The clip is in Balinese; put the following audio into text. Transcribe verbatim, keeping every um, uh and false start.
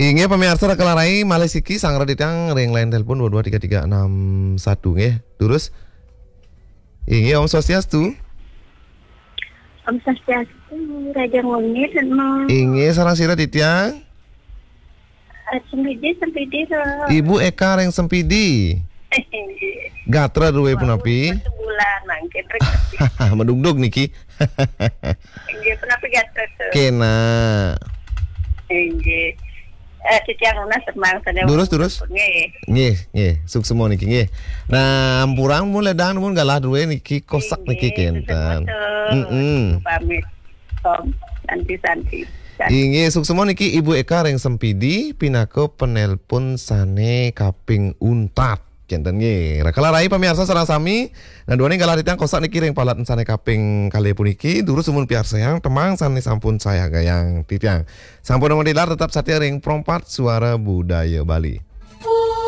Inggih pamiarsa, raka Larai, malih siki sareng titiang ring line telepon dua dua tiga tiga enam satu nggih. Durus. Inggih, Om Swastiastu. Om Swastiastu, Raja Ngunit, no. Inggih, sareng sira titiang? Eh, Sempidi, Sempidi, Ro. Ibu Eka ring Sempidi. Inggih. Gatra drué punapi? Satu bulan mangkin ring Sempidi. Madugdug niki. Inggih, punapi gatra, Sir? Kénak. Inggih. Eh, titiang nunas tembang sané. Durus, durus. Nggih. Nggih, nggih. Suksma niki nggih. Nah, ampurang mun ledang mun galah drué niki kosak niki, inggih, kénten. Suksma, Sir. Mm-mm. Pamit. Om Santi, Santi, Santi. Inggih, suksma niki Ibu Eka ring Sempidi pinaka penelpon sané kaping untat. Kénten nggih. Raka Larai pamiarsa sareng sami, nah, duaning galah titiang kosak niki ring palet sané kaping kalih puniki, durus sumun piarsayang tembang sané sampun sayagayang titiang. Sampun matilar, tetep satia ring Pro empat Suara Budaya Bali.